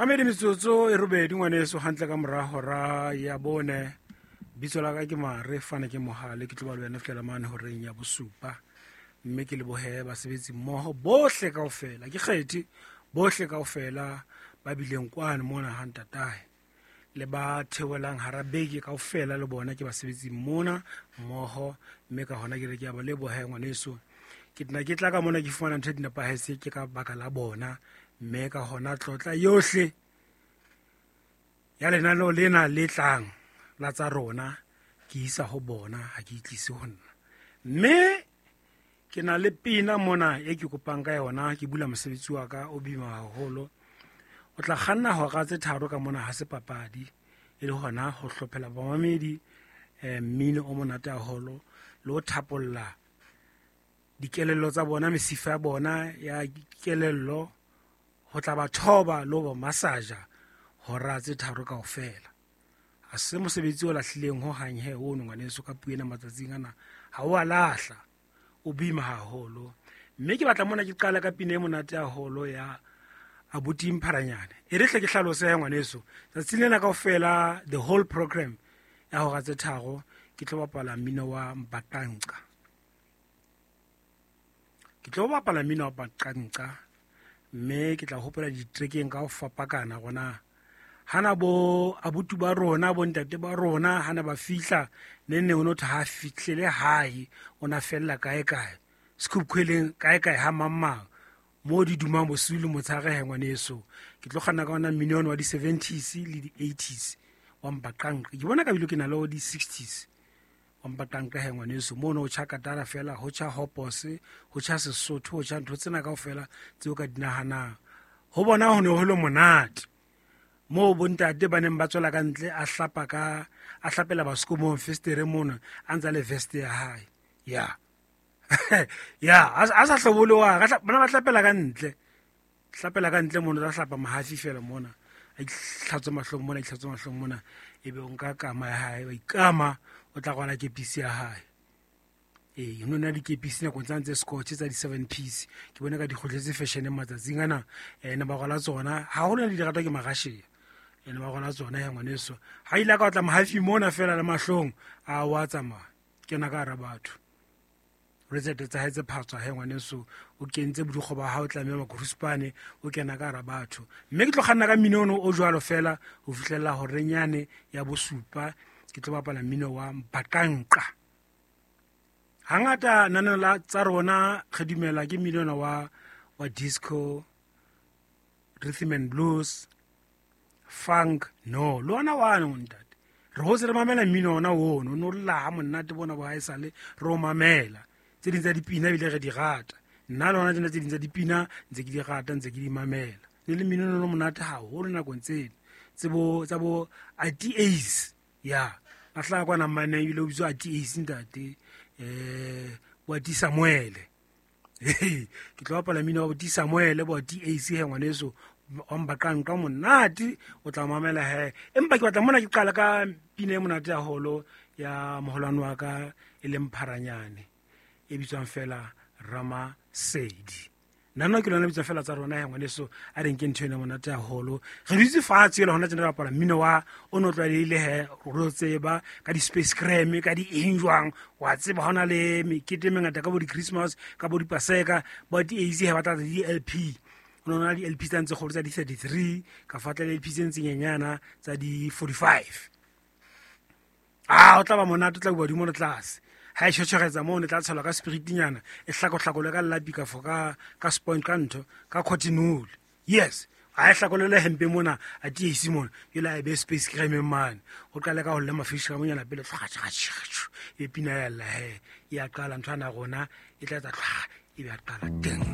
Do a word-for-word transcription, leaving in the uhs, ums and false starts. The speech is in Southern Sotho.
Mamedi metsotso e robedi ngwaneso hantle ka mora hora ya bone. Bitso la ka ke Mare Fane ke Mohale, ke tlo ba le wena fihlela mane horeng ya bosupa. Mme ke lebohe basebetsi mmoho bohle kaofela, ke kgethe bohle kaofela ba bileng kwano mona ha ntatae le ba theohelang hara beke kaofela, le bona ke basebetsi mona mmoho. Mme ka hona ke re ke a ba leboha ngwaneso. Ke tena ke tla ka mona ke fumana ntho di nepahetse ke ka baka la bona. Mme ka hona tlotla yohle ya lenaneo lena le tlang la tsa rona ke isa ho bona, ha ke itlise ho nna. Mme ke na le pina mona e ke kopang ka yona, ke bula mosebetsi wa ka o boima haholo. O tla kganna hora tse tharo ka mona, ha se papadi, e le hona ho hlophela bamamedi eh, mmino o monate haholo le ho thapolla dikelello tsa bona, mesifa ya bona ya kelello, ho tla ba thoba le ho ba masaja hora tse tharo kaofela. Ha se mosebetsi o lahlileng ho hang he ono ngwaneso ka puo ena matsatsing ana, ha o a lahla, o boima haholo. Mme ke batla mona ke qala ka pina e monate haholo ya abuti Mpharanyane. E re hle ke hlalose he ngwaneso, tsatsing lena kaofela the whole program ya hora tse tharo ke tlo bapala mmino wa Mbaqanqa. Ke tlo bapala mmino wa Mbaqanqa, mme ke tla hopola ditrekeng ka ho fapakana gona. Hana bo abuti ba rona, bo ntate ba rona, hana ba fihla ne ne o no tha fihlele hae, o na fella kae kae, Sekhukhweleng kae kae ha mang mang, mo di dumang bosiu le motshehare he ngwaneso. Ke tlo kganna ka ona mmino wa di-seventies le di-eighties wa Mbaqanqa. Ke bona ka bile ke na le di-sixties wa Mbaqanqa he ngwaneso. Mono o tjha katara fela, ho tjha hopose, ho tjha Sesotho, ho tjha ntho tsena kaofela tseo ka di nahanang. Ho bona ho ne ho le monate moo bontate ba neng ba tswela ka ntle, a hlapa ka, a hlapela basekomong festere mona, a ntsa le vest ya hae. Ya. Ya, a sa hlobole wa, bana ba hlapela ka ntle. Hlapela ka ntle mona, ba hlapa mahafi fela mona. A itlhatswe mahlong mona, a itlhatswe mahlong mona. Ebe o nka kama ya hae, wa ikama, o tla rwala kepisi ya hae. Ee, ho na dikepisi nakong tsa ntse scotch tsa di-seven piece. Ke bone ka di kgutletse fashion matsatsing ana, eh, ne ba rwala tsona. Haholo ne di ratwa ke Marashiya. Ene ba rwala tsona ya ngwaneso. Ha ile ka otla mahafi mona fela le mahlong, a wa tsamaya. Kena ka hara batho. Retsete tsa hae tse phatswa he ngwaneso, o kentse bodikgo ba hao, tlameha makuruspane, o kena ka hara batho. Mme ke tlo kganna ka mmino ono o jwalo fela ho fihlella horenyane ya bosupa. Ke tlo bapala mmino wa Mbaqanqa. Hangata nana la tsa rona re dumela ke mmino ona wa, wa disco, rhythm and blues, funk. No, le ona wane ntate. Re hotse re mamela mmino ona ono, o no lla ha monate bona bo haesale re o mamela. Tse ding tsa dipina ebile re di rata. Nna le hona tjena tse ding tsa dipina ntse ke di rata, ntse ke di mamela. Ne le mmino ono monate haholo nakong tseno. Tse bo, tsa bo Ati Ace. Ya, a hlaha kwana mane ebile o bitswa Ati Ace ntate. Eh, bo Ati Samuele. Ke tlo bapala mmino wa Ati Samuele, bo Ati Ace he ngwaneso, wa Mbaqanqa monate, o tla mamela he. Empa ke batla mona ke qala ka pina e monate haholo ya moholwane wa ka e leng Mpharanyane, e bitswang fela Ramasedi. Nna nna ke lona bitswang fela tsa rona he ngwaneso, a re nke ntho ena monate haholo. Re dutse fatshe ele hona tjena re bapala mmino wa o no tlwaelehile he, re o tseba ka di-space creme, ka di eng jwang, wa tseba ha hona le mekete e mengata ka bo di-Christmas, ka bo di-Paseka, bo di-A C he ba tla di-L P. Ho no na di-L P tsa ntse kgolo tsa di-thirty-three, ka fa tla le L P tse ntse nyenyana tsa di-forty-five. Ah, o tla ba monate, o tla bua hodimo le tlase. Ha e tjhotjhoretsa moo, ne tla tshelwa ka spiritinyana, e hlakohlakolwe ka lelapi ka fo, ka, ka sponge, ka ntho, ka cotton wool. Yes, ha e hlakolele hempe mona, a tiise mona, jwale a e be space creme mane. O qale ka ho lla mafishi ka monyana pele, tlhwa, tlhwa, tlhwa, tlhwa, e pina ya lla he, e a qala ntho ana rona, e tla etsa tlhwa, e be a qala teng.